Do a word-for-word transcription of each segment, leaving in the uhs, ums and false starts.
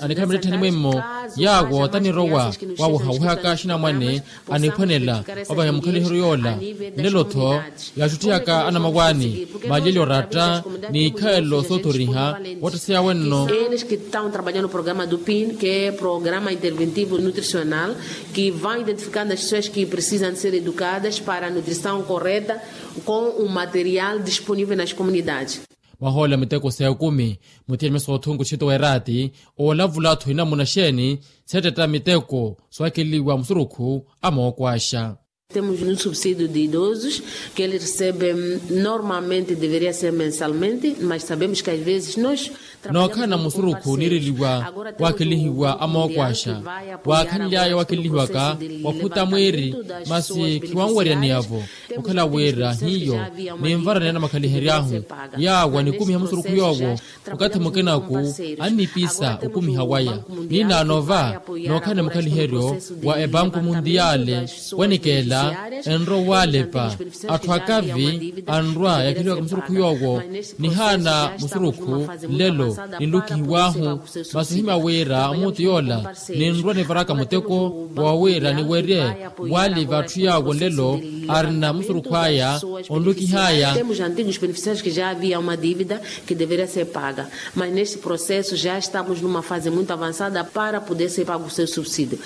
Anikhala mittettheni mwimmo yaawo tanirowa waawehawehaka axinamwane aniphwanela opahiya mukhaliheryo yoola. Nlelo-tho yaaxutthiyaka anamawaani maliyeli oratta ni ikhalelo soothoriha woottaseya wenno. Eles que estão trabalhando no programa do pin, que é programa interventivo nutricional, que vai identificando as pessoas que precisam de ser educadas para a nutrição correta com o material disponível nas comunidades. Mwahoolela miteko sa ekumi muthiya misoothu nkuxito weeraati. Oolavula-tho inamuna xeeni seettetta miteko soowakeleliwa musurukhu a mookwaxa. Temos um subsídio de idosos que eles recebem normalmente, deveria ser mensalmente, mas sabemos que às vezes nós nookhala na musurukhu niireliwa waakelihiwa a mookwaxa waakhanly'aya waakelihiwaka wakhuta mwiiri. Masi khiwanwerya niyavo okhala wira hiyo ninvara ni anamakhalihery'ahu yaawo anikumiha musurukhu yoowo. Okathi mukinaku annipisa okumiha waya ninaano va nookhala ni mukhaliheryo wa epanku muntiyale. Wanikeela enrowa waalepa atthu akavi anrwa yakheliwaka musurukhu yoowo nihaana musurukhu nlelo ninlukihiw'ahu. Masi ohimya wira omuutu yoola ninrwa nivaraka muteko wa wira niwerye waali v'atthu yaawo nlelo arina musurukhu aya onlukih'aya. Temos antigos beneficiários que já havia uma dívida que deveria ser paga, mas neste processo já estamos numa fase muito avançada para poder ser pago o seu subsídio.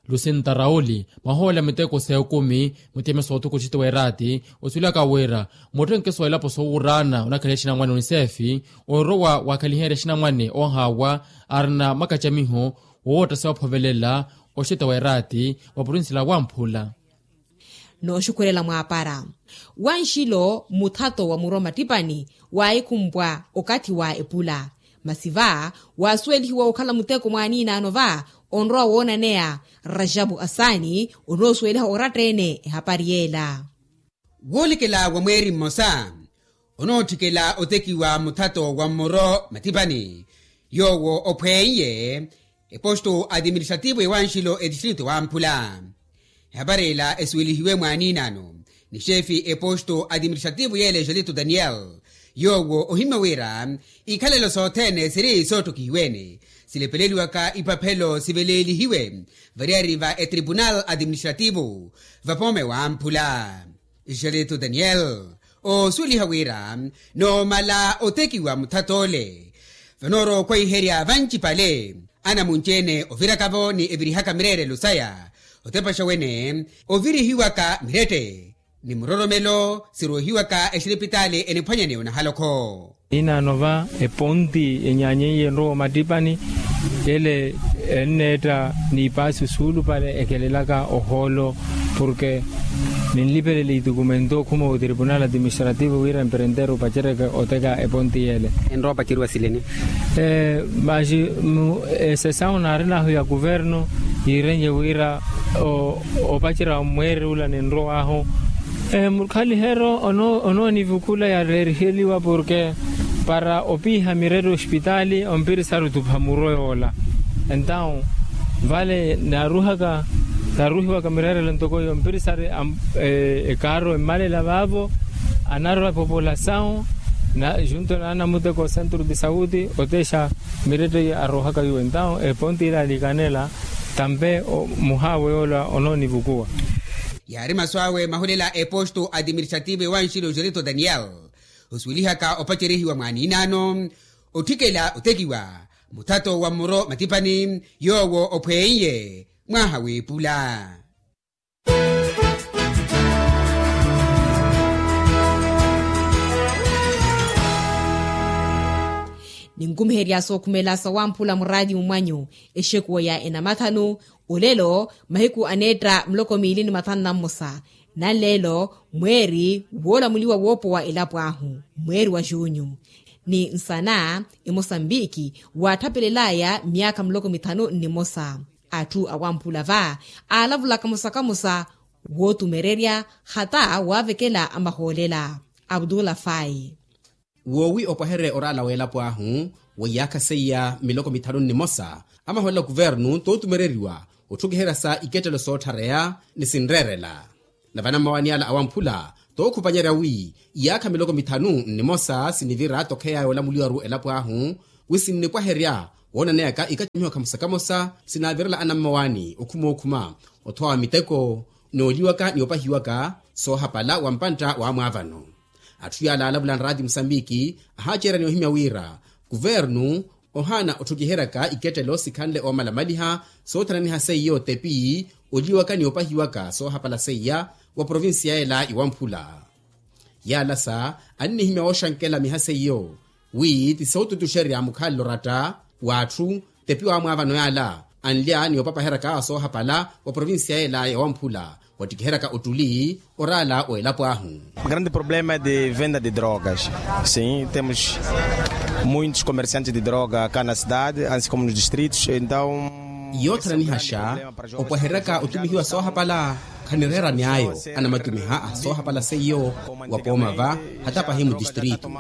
Lucinta rauli mwahoolela miteko s'ekumi mutiyeme s'othuku oxiti w'eraati osuwelaka wira muttenke soolapo soowuraana onakhaliha exinamwane oniseefi orowa wakhaliherya exinamwane oohaawa arina makacamiho woowotta sewaphovelela oxiti w'eraati wa purinsila wamphula. Nooxukhwelela mwaapara wanxilo muthato wa muro mattippani waahikhumpwa okathi wa epula. Masi va waasuwelihiwa okhala muteko mwaaniinaano va onrowa woonaneya rajapu asaani onoosuweliha oratta-ene ehapari yeela. Woolekela wa mweeri mmosa onootthikela otekiwa muthato wa mmoro mattippani yoowo ophweiye eposto atiministrativo ewanxilo etistrito wamphula. Ehapari ela esuwelihiwe mwaaniinano ni xeefi eposto atiministrativo yeela exelito daniel yoowo ohimmya wira ikhalelo sothene siri soottokihiwene silepeleliwaka ipaphelo siveleelihiwe variyari va etripunal atiministrativo vapoome wamphula. Xeleto daniel oosuweliha wira noomala otekiwa muthat'ole vanoorowa okhwaiherya vancipale anamunci-ene oviraka-vo ni evirihaka mireerelo saya otepaxa wene ovirihiwaka mirette ni muroromelo siroohiwaka exilipitaali eniphwanyaneya onahalokho. Inaano va eponti enyaanyeiye enrowa omattippani ele enneetta n'ipaasi osuulupale ekelelaka ohoolo porke ninlipelele itukumento okhuma otripunal atiministrativo wira emperenteru opacereke oteka eponti yeele. Enrowa opaceriwa sileni. Maxi esesawu naarin'ahu ya kuvernu yiirenye wira opacerya mweeri ula ninrow'ahu mukhaliheryo onoonivukula yareeriheliwa porke para opiiha mirette ospitaali ompirisari otupha muro yoola. Entawu vale naaruhaka naaruhiwaka mireerelo ntoko iyo ompirisari ekaaro emmalela vaavo anarwa epopolasawu na junto na anamuteko centro de sauti otexa mirette iyo aruhaka yuwe entawu eponti ila alikanela tampe muhaawe yoola onoonivukuwa. Yaari masu awe mahulela eposto atiministrativo ewanxilo jerito daniel osuwelihaka opacerihiwa mwaaniinaano otthikela otekiwa muthato wa mmoro matipani yoowo ophweiye mwaha w'epula. Ninkumiherya sookhumela sawamphula muraatimu mwanyu exekuwa ya enamathanu olelo mahiku aneetta muloko miili ni mathanu na mmosa nanleelo mweeri woolamuliwa woopowa elapo ahu mweeri wa junyu ni nsana emosambiki waatthapelel'aya myaakha muloko mithanu nnimosa. Atthu awamphula va aalavulaka mosa kamosa wootumererya hata waavekela amahoolela. Abdullah fai. Woowi opwahererya oraala w'elapo ahu wa iyaakha seiya miloko mithanu nnimosa amahoolela kuvernu tootumereriwa otthukiherya sa ikettelo sootthareya ni sinreerela. Na vana mmawaani ala awamphula tookhupanyerya wi iyaakha miloko mithanu nnimosa sinivira tokheya yoolamuliwaru elapo ahu wi sinnipwaherya Woonaneyaka ikacamiho kamosa-kamosa sinaavirela anammawaani okhuma okhuma, othowaka miteko, nooliwaka ni opahiwaka soohapala wa mpantta wa amwaavano. Atthu yaala alavula nraati musambiki ahaaceerya ni ohimya wira kuvernu ohaana otthukiheryaka ikettelo sikhanle oomalamaliha soothananiha seiyo tepi oliwaka ni opahiwaka soohapala seiya wa provincia yeela iwamphula. Yaalasa annihimya wooxankela miha seiyo wi ti sootutuxerya mukhalelo ratta w'atthu tepi w'amwaavano yaala anlya ni opapaheryaka soohapala wa provincia yeela yawamphula wattikiheryaka ottuli oraala w'elapo ahu. Grande problema de venda de drogas. Sim, temos muitos comerciantes de droga cá na cidade, ansi como nos distritos, então yoothananihaxa opwaheryaka otumihiwa soohapala khanireera niy'ayo anamatumiha a soohapala seiyo wa pooma va hata pahi mudistritu.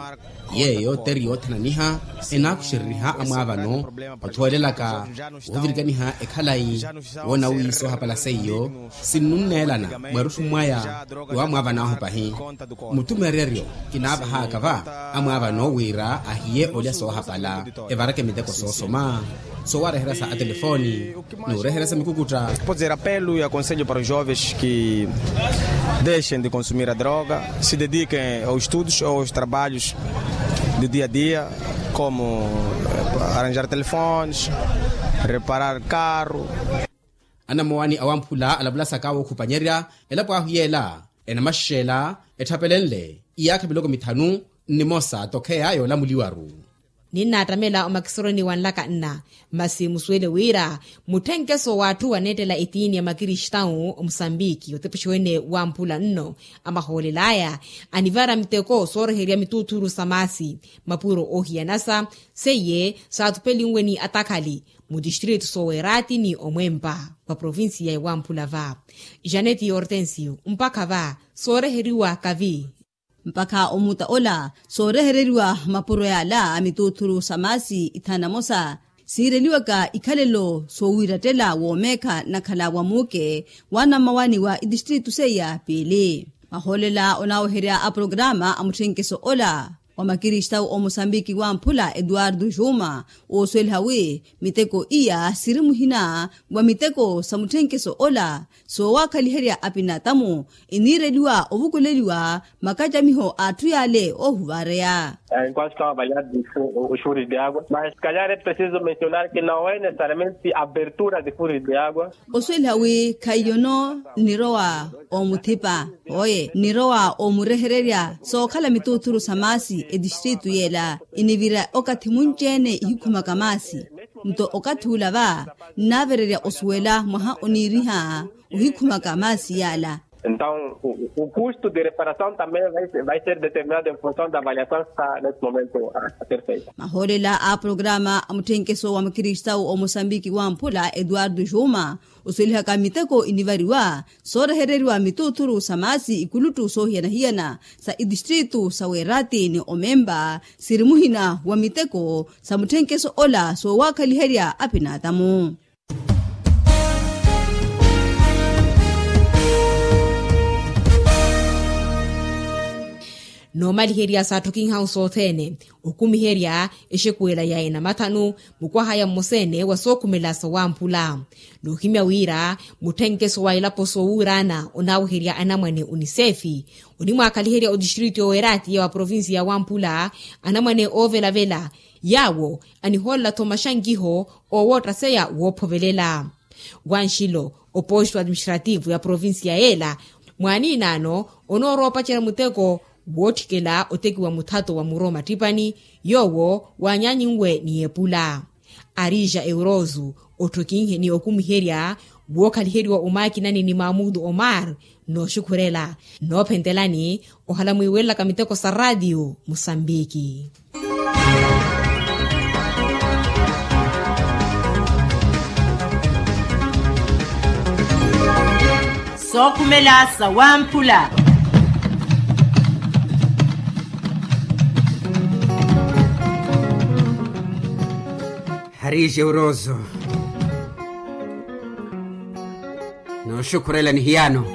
Yeeyo teri yoothananiha enaakuxereriha amwaavano othuwelelaka woovirikaniha ekhalayi woona wi soohapala seiyo sinnunneelana mwerutthu mwaya. Ni wamwaavan'ahu pahi muttumereryo kinaavahaaka va amwaavano wira ahiye olya soohapala evareke miteko soosoma soowareherya sa atelefoni n'ureherya sa mikukutta. Poder apelo e aconselho para os jovens que deixem de consumir a droga, se dediquem aos estudos ou aos trabalhos de dia a dia, como arranjar telefones, reparar carro. Anamowani awamphula alavulasaka wookhupanyerya elapo ahu yeela enamaxela etthapelenle iyaakha miloko mithanu nnimosa tokheya yoolamuliwaru. Ninnaattamela omakisoroni wanlaka nna masi musuwele wira mutthenkeso w'atthu waneettela etiini ya makristawu omusambiki otepexiwene wamphula nno amahoolel'aya anivara miteko sooreherya mituuthuru sa maasi mapuro oohiyanasa seiye saathupelinwe ni atakhali mutistritu soowerati ni omwempa wa provinsiya ya wamphula va janeti hortensio mpakha va sooreheriwa kavi. Mpakha omuta ola soorehereriwa mapuro yaala a mituuthuru sa maasi ithanu na mosa siireliwaka ikhalelo soowiirattela woomeekha nnakhala wa muuke wa anammawani wa itistritu seiya piili. Mahoolela onaaweherya a programa a mutthenkeso ola wa makristawu omusambiki wamphula eduardo juma oosuweliha wi miteko iya siri muhina wa miteko sa mutthenkeso ola soowakhaliherya apinatamu iniireliwa ovukuleliwa makacamiho a atthu yaale oohuvareya. Enquanto estava a avaliar os furos de água mas se calhar é preciso mencionar que não é necessariamente abertura de furos de água. Osuweliha wi khaiyono nnirowa omuthipa oye nnirowa omurehererya sookhala mituuthuru sa maasi etistritu yeela inivira okathi munci-ene ihikhumaka maasi. Nto okathi ula va nnaavererya osuwela mwaha oniiriha ohikhumaka maasi yaala. Então o custo de reparação também vai ser determinado em função da avaliação que está neste momento a ser feita. Mahoolela a programa a mutthenkeso wa makristawu omusambiki wamphula eduardo juma osuwelihaka miteko inivariwa soorehereriwa mituuthuru sa maasi ikuluttu soohiyana-hiyana sa itistritu sa weerati ni omemba siri muhina wa miteko sa mutthenkeso ola soowakhaliherya apinatamu. Noomaliherya saatthokinhahu sothene okumiherya exekuwela ya enamathanu mukwahaya mmosa-ene wa sookhumela sa wamphula. Noohimya wira mutthenkeso wa elapo soowuuraana onaaweherya anamwane unisefi onimwaakhaliherya otistritu yooweratiya wa provinsiya ya wamphula anamwane oovelavela yaawo anihoolela-tho maxankiho oowoottaseya woophovelela. Wanxilo oposto administrativo ya provinsiya yeela mwaaniinaano onooroopacerya muteko wootthikela otekiwa muthato wa muro mattippani yoowo waanyaanyinwe ni epula. Arija euroso otthokinhe ni okumiherya wookhaliheriwa omaakinani ni maamudu omar nooxukhurela noophentelani ohala mwiiwelelaka miteko sa raatiyo musambiki. Sookhumela sa wamphula. Hariixe uroso nooxukhurela ni hiyaano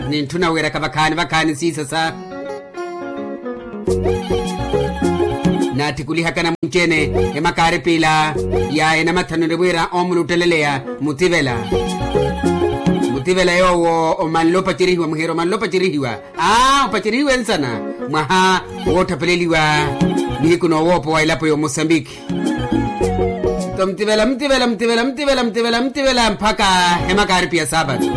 nintthuna wiiraka vakhaani vakhaani siisasa. Naatthikulihaka namwinci-ene emakaaripila ya enamathanu enimwiira omulutteleleya mutivela. Mutivela yoowo omanle opacerihiwa muheera omanle opacerihiwa. Aa opacerihiwa ensana mwaha woottapeleliwa nihiku noowoopowa elapo y'omosambiki. Nto mutivela mutivela mutivela mutivela mutivela mutivela mpakha emakaaripi ya saapatu.